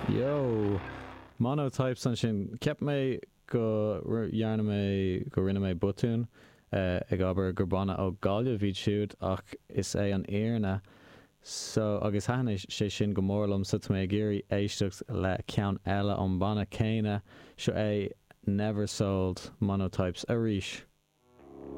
Yo! Monotypes ansin. Cheap mé go dhearna mé, go rinne mé botún ag abair gur banna ó Gaillimh iad siúd ach is é an fhírinne so agus thaitin sé sin go mór liom so tá mé ag iarraidh éisteacht le ceann eile ón mbanna céanna, seo é Never Sold, Monotypes arís.